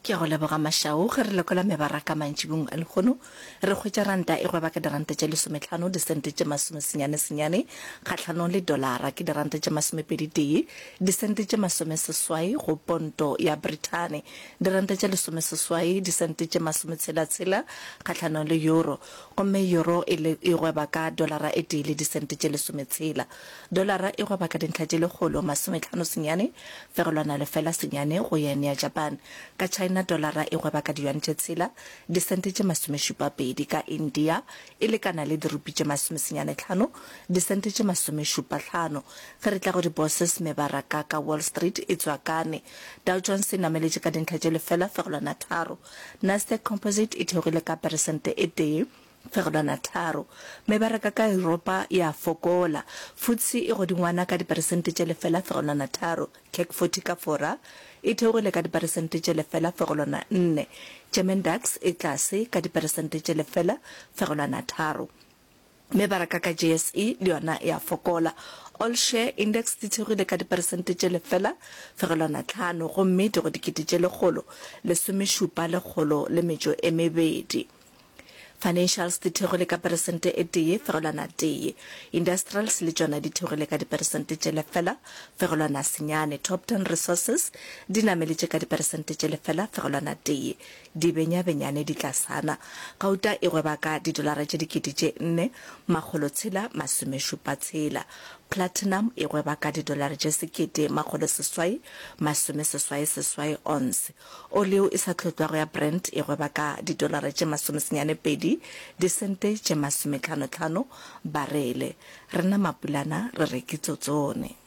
Ke a go leboga Mashau. Ge re lekola mebaraka mantšibong a lehono, re hwetša ranta e gweba ka diranta tše lesometlhano disente tše masomesenyane senyane kgahlanong le dolara ke diranta tše masomepedi tee disente tše masomeseswai go ponto ya Brithani, diranta tše lesomeseswai disente tše masometshela tshela kgahlanong le euro, gomme euro e le e gweba ka dolara e tee le disente tše lesometshela. Dolara e gweba ka dintlha tše lekgolo masometlhano senyane fegelwana lefela senyane go yen ya Japan. Ka China dolara e gweba ka diyuan tše tshela disente tše masomešupapedi, ka India e lekana le dirupi tše masomesenyane tlhano disente tše masomešupahlano. Ge re tla go di-bourses mebaraka ka Wall Street e tswakane. Dow Jones e nameletše ka dintlha tše lefela fegelwana tharo. Nasdaq Composite e theogile ka peresente e tee. Fegelwana tharo. Mebaraka ka Yuropa ya fokola. FTSE e godingwana ka diperesente tše lefela fegelwana tharo. CAC 40 ka Fora e theogile ka diperesente tše lefela fegelwana nne. German DAX e tlase ka diperesente tše lefela fegelwana tharo. Mebaraka ka JSE le yona e a fokola. All Share Index di theogile ka diperesente tše lefela fegelwana tlhano gomme di go dikete tše 117 lekgolo le metšo e mebedi. Financials di theogile ka peresente e tee fegelwana tee. Industrials le tšona di theogile ka diperesente tše lefela fegelwana senyane. Topton Resources di nameletše ka diperesente tše lefela fegelwana tee. Di benyabenyane di tlasana. Gauta e gweba ka didolara tše dikete tše nne makgolo tshela masomešupa tshela. Platinum e gweba ka didolara tše sekete makgolo seswai masomeseswai seswai onse. Oli yeo e sa tlhotlwago ya Brent e gweba ka didolara tše masomesenyane-pedi, disente tše masometlhano-tlhano barele. Rena Mapulana re re ke tsotsone.